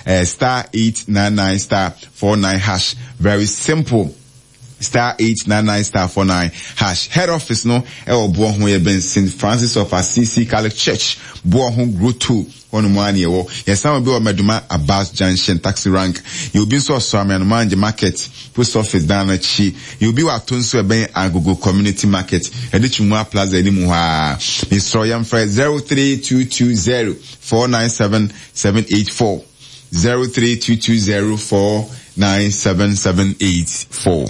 Ɛyɛ star 899 star 49 hash. Very simple. Star 899 star 49 hash. Head office no ɛwɔ Boɔ ho yɛ bɛn St. Francis of Assisi Catholic Church, Boɔ ho Grotto hɔ nom ara na yɛwɔ. Yɛsan wɔ bi wɔ Medoma Abas Junction taxi rank. Yɛwɔ bi nso wɔ Soame Anomange Market post office dan no akyi. Yɛwɔ bi wɔ Ato nso ɛbɛn Agogo Community Market, yɛde Twumua Plaza anim hɔ ara. Mesrɛ yɛmfrɛ 03220 497 784, 03220 497 784.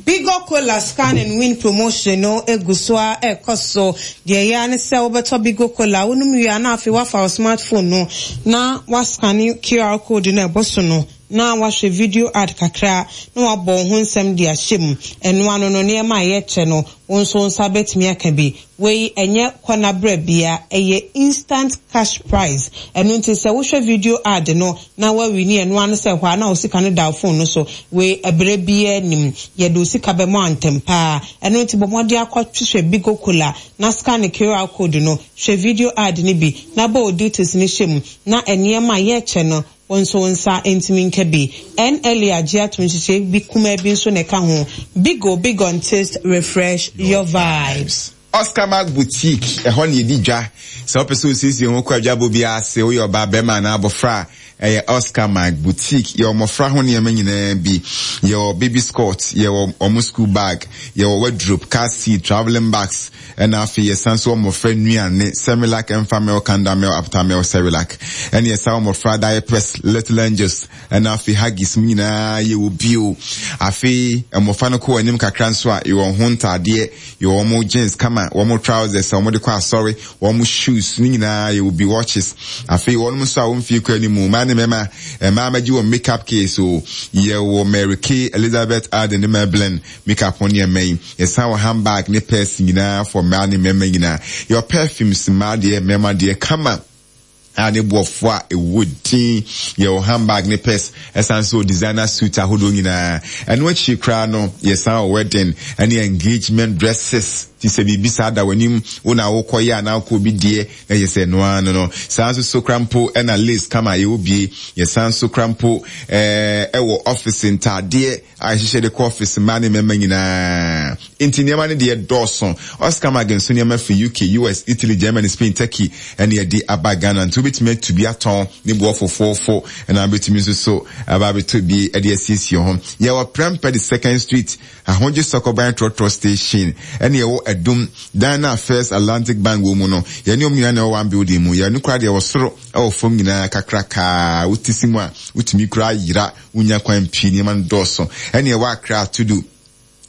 Bigo Cola Scan and Win promotion no gu so ara rekɔ so. Deɛ ɛyɛ ara ne sɛ wobɛtɔ Bigo Cola, wonom wie a na afei woafa wo smartphone no na woascane QR code no a ɛbɔ so no na woahwɛ video ad kakra na woabɔ wo ho nsɛm de ahyɛ mu. Ɛno ano no, nneɛma a yɛkyɛ no, wo nso wo nsa bɛtumi aka bi. Wei ɛnyɛ kɔ na brɛ bia, ɛyɛ instant cash prize. Ɛno nti sɛ wohwɛ video ad no na woawini ɛno ara ne sɛ ɛhɔ ara na wo sika no da wo phone no so. Wei ɛberɛ biara nnim, yɛde wo sika bɛma wo ntɛm paa. Ɛno nti bɔ mmɔden akɔ hwehwɛ Bigo Cola na scan QR code no, hwɛ video ad no bi na bɔ wo details no hyɛ mu na nneɛma a yɛkyɛ no Wo nso wo nsa ntumi nka bi. NLA agye atom nhyehyɛe bi kumaa bi nso na ɛka ho. Bigo Bigon Taste Refresh Your Vibes. Oscar Mark Boutique, ɛhɔ na yɛdi dwa. Sɛ wopɛ sɛ wosiesie wo ho kɔ adwabɔ biara ase, woyɛ ɔbaa, barima anaa abɔfra a, ɛyɛ Oscar Mark Boutique. Yɛwɔ mmɔfra ho nneɛma nyinaa bi. Yɛwɔ baby skirt, yɛwɔ wɔn school bag, yɛwɔ wardrobe, car seat, travelling bags, Ɛna afei yɛsan nso wɔ mmɔfra nnuane, Semilac, Enfamil, Kandamil, Aptamil, Cerelac. Ɛna yɛsan wɔ mmɔfra diapers, Little Angels, ɛna afei Huggies mu nyinaa yɛwɔ bio. Afei mmɔfra no kɔ wɔn anim kakra nso a, yɛwɔ wɔn ho ntaadeɛ, yɛwɔ wɔn jeans kama, wɔn trousers a wɔde kɔ asɔre, wɔn shoes ne nyinaa yɛwɔ bi, watches. Afei wɔn nso a wɔn mfie kɔ anim, mmaa ne mmarima, mmaa mɛgye wɔn makeup case o, yɛwɔ Mary Kay, Elizabeth Arden ne Maybelline makeup ho nneɛma yi. Yɛsan wɔ handbag ne purse nyinaa for mmaa ne mmarima nyinaa. Yɛwɔ perfumes mmaa deɛ, mmarima deɛ kama a ne boɔfo a ɛwɔ din. Yɛwɔ handbag ne purse, ɛsan nso wɔ designer suit ahodoɔ nyinaa. Ɛno akyiri koraa no, yɛsan wɔ wedding ne engagement dresses. Ti sɛ biribi saa da w'anim, wo na wokɔyɛ anaa wokɔ obi deɛ, na yɛ sɛ ɛno ara no no. Saa nso so koraa mpo ɛna lace kama yɛwɔ bie. Yɛsan nso koraa mpo ɛɛ ɛwɔ office ntaadeɛ a yɛhyehyɛ de kɔ ɔfese mmaa ne mmarima nyinaa. Enti nneɛma no deɛ dɔɔso. Oscar Mag nso nneɛma firi UK, US, Italy, Germany, Spain, Turkey ɛna yɛde aba Ghana. Nti wobɛtumi atu bi atɔn ne boɔ fofoofo ɛna wobɛtumi nso so aba abɛtɔ bi de asiesie ho. Yɛwɔ Prempeh the Second Street, Ahodwo Sɔkɔban Trɔtrɔ Station ɛna yɛwɔ Adum dan no a First Atlantic Bank wɔ mu no. Yɛne wɔn nyinaa na ɛwɔ one building mu. Yɛn no koraa deɛ ɛwɔ soro ɛwɔ fam nyinaa kakrakaa. Wote si mu a wotumi koraa yera. Wonya kwan pii, nneɛma no dɔɔso. Ɛne ɛwɔ Accra Tudu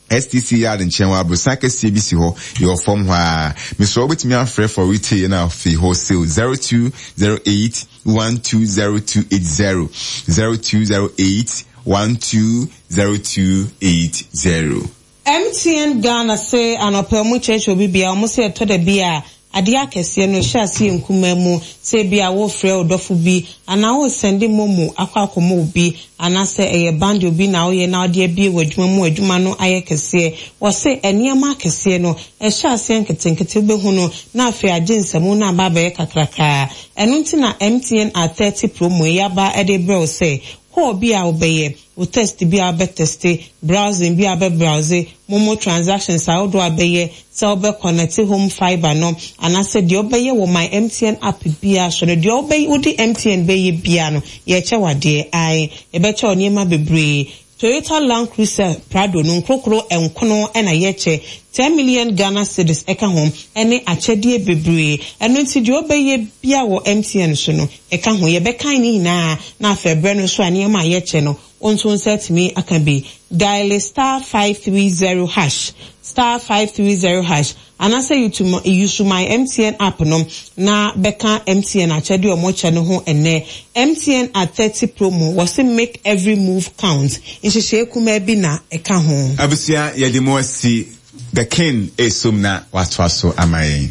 STC yard nkyɛn hɔ, aborosan kɛseɛ bi si hɔ, yɛwɔ fam hɔ ara. Mesrɛ wo wobɛtumi afrɛ for retail ɛna afei wholesale 0208 120280, 0208 120280. MTN Ghana se anɔpa ɔmo kyerɛkyerɛ obi bia ɔmo se ɛtɔ da bi a adeɛ akɛseɛ no ɛhyɛ aseɛ nkumaa mu sɛ ebia worefrɛ wo dɔfo bi anaa woresɛnde momo akɔ akɔma obi anaasɛ ɛyɛ bundle bi na woyɛ na wode abue w'adwuma mu adwuma no ayɛ kɛseɛ. Wɔse nneɛma akɛseɛ no ɛhyɛ aseɛ nketenkete wobɛhu no na afei agye nsamu na aba abɛyɛ kakrakaa. Ɛno nti na MTN at 30 promo yi aba de rebrɛ wo sɛ call bi a wobɛyɛ wo test bi a wobɛ teste, browsing bi a wobɛ browse, momo transactions ahodoɔ a wobɛyɛ, sɛ wobɛ connecte home fibre no, anaasɛ deɛ wobɛyɛ wɔ my MTN app biara so no, deɛ wobɛ wode MTN bɛyɛ biara no, yɛrekyɛ wo adeɛ, ae, yɛbɛkyɛ wo nneɛma bebree. Toyota Land Cruiser Prado no nkorokoro nkono na yɛkyɛ, 10 million Ghana cedis ɛka ho, ɛne akyɛdeɛ bebree. Ɛno nti deɛ wobɛyɛ biara wɔ MTN so no, Ɛka ho, yɛbɛkan ne nyinaa na afei berɛ no nso a nneɛma a yɛkyɛ no, wo nso wo nsa atumi aka bi. Diale *530 hash, *530 hash, anaasɛ use my MTN app no na bɛka MTN akyɛdeɛ a wɔkyɛ no ho ɛnnɛ. MTN at 30 promo, wɔse make every move count. Nhyehyɛe kumaa bi na ɛka ho. Abusua yɛde mo asi The King esom na watoa so ama yɛn.